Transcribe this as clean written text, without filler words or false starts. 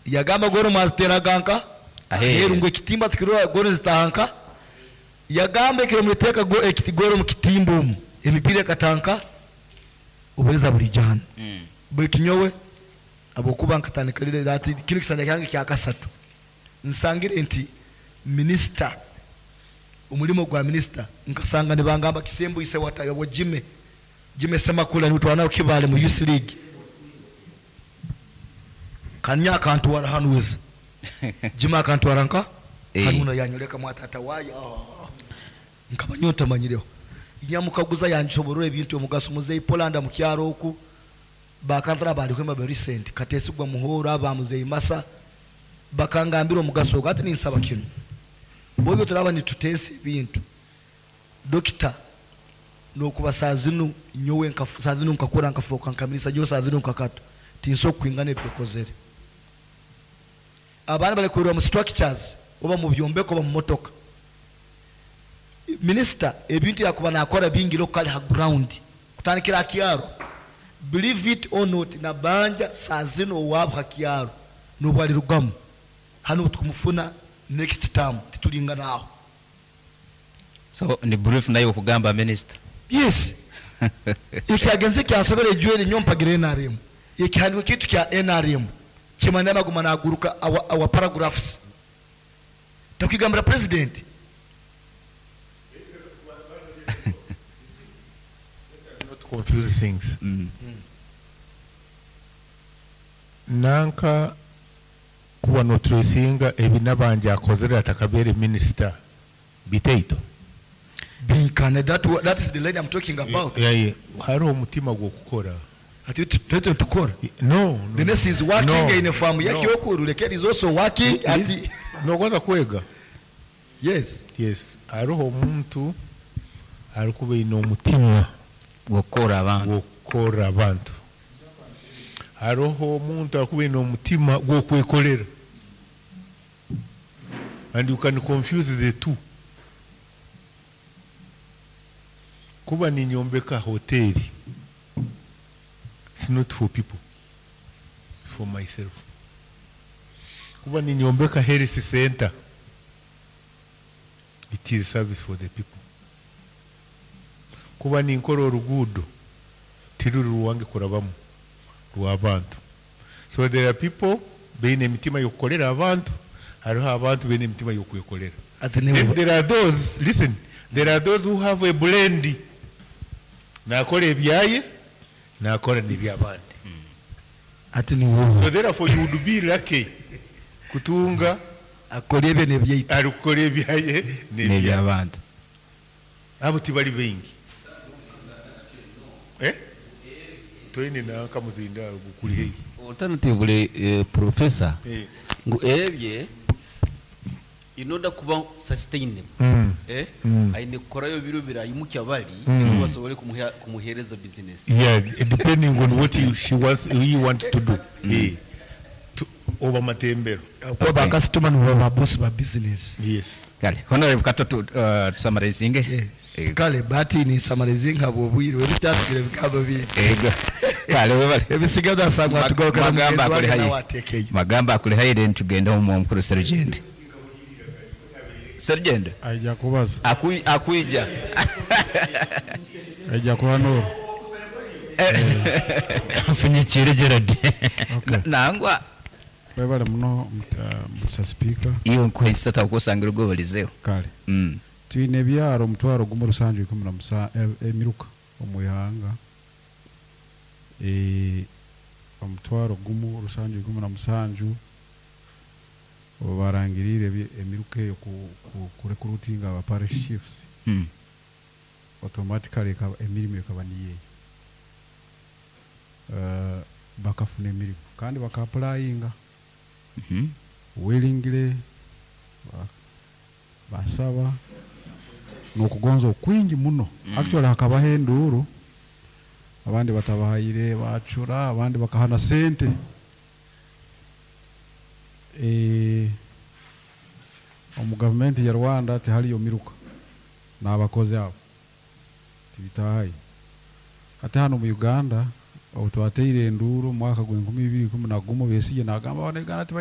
Yagamba goolo mwaziteraga nka aheeru ngu ekitimba tukirora goolo nizitaaha nka yagamba ekiro muliteeka goolo omu kitimba omu emipiira ekataaha nka obuheereza buriija hanu. Baitu nyowe habwokuba nkatandika lira hati kinu kisanja kyange kyakasatu nsangire nti minisita omulimo gwa minisita nkasanga nibangamba Kisembo ise wa Jimmy, Jimmy Ssemakula niwe twali nawe Kibaale mu Youth League. Kanya akantwara hanu weza. Jimmy akantwara nka hanu na yanyoleka mwa tata waye. Nkaba nyowe ntamanyireho. Nyamukaguza yansoborora ebintu omugaso muzeyi Poland mu kyaro oku bakansala bali kwemba ba recent Katesigwa Muhoro aba muzeyi Masa bakangambira omugaso ogwo. Ati ninsaba kinu. Bwoyo turaba nitutensa ebintu. Dokita nokuba saa zinu nyowe saa zinu nkakura nkafoka nkamirisa nyowe saa zinu nkakato tinso kwingana ebyokozere. Abana bali kwirwa mu structures oba mu byombeko oba mu motoka. Minister ebintu yakuba nakora bingi lokali ha ground kutandikira kyaro. Believe it or not na banja saa zinu owabo ha kyaro nobwali rugamu hano tukumufuna next term titulingana aho. So ni brief nayo okugamba minister. Yes. Ekyagenze kyansobera ejweri nyo mpagira NRM. Ekihandiko kitu kya NRM kimana maguma naguruka our paragraphs. Takigambira president. Not confuse things. Nanka kuba no tracinga ebinabanja akozere atakabere minister biteito. Binkane, that is the lady I'm talking about. Yeah, yeah. Hariho omutima gw'okukora. Ati twete tukora. No, no. The nurse is working No. in a farm. No. Yakyokuru, the kid is also working Yes. at No, kwanza kwega. Yes. Yes. Hariho omuntu arikuba aine omutima gw'okukora abantu. Gw'okukora abantu. Hariho omuntu arikuba aine omutima gw'okwekorera. And you can confuse the two. Kuba ninyombeka hoteli. It's not for people. It's for myself. Kuba ninyombeka health center. It is service for the people. Kuba ninkora orugudo. Tiruri ruwange kurabamu. Rw'abantu. So there are people beine emitima y'okukorera abantu. Hariho abantu beine emitima y'okwekorera. Ati ni Then there are those, listen, there are those who have a blend. Nakora ebyaye, nakora n'ebyabandi. Ati ni wowe. So therefore you would be lucky kutunga akora ebye n'ebyaitu. Arikukora ebyaye n'ebyabandi. Abo tibali baingi. Toine nanka muzinda gukuri heyi. Alternatively, professor, ngu ebye in order kuba sustainable, aine kukorayo biro birayimukya bali, basobole kumuhereza business. Yeah, depending on what he, she wants, he wants to do. To, oba matembero. Kuba ba customer ni ba boss ba business. Yes. Kale, honorable Kato tu summarizing. Yeah. Kale, bati ni summarizing habo bwire, we byatugire bikaba biri. Ego. Kale, webale. Ebisigaza sangwa tugaruka Magamba mugenzi akuli wange hayi. nawe atekeyo. Magamba akuli hayi then tugende omu mukuru Sergeant. Sergeant. Aija kubaza. Akuija. Aija kuhanura. Mfunyikire Gerard. Okay. Nangwa. Webale muno, Mr. Speaker. Iyo nkwesa takusangira ugobalizeho. Kale. Twine ebyaro omutwaro gumu rusanju ikumi na emiruka omu ihanga. Omutwaro gumu rusanju ikumi na musanju barangirire emiruka eyo ku recruiting aba parish chiefs. Automatically emirimu ekaba niyeyo. Bakafuna emirimu kandi baka-applyinga. Willingly, basaba n'okugonza okwingi muno. Actually hakabaho enduuru, abandi batabahayire bacura, abandi bakahana sente. Omu gavumenti ya Rwanda tihariyo miruka n'abakozi abo tibitahayo. Ate hano mu Uganda obu twateire enduuru mu mwaka gw'enkumi ibiri ikumi na gumu, Besigye nagamba abana Uganda tibaine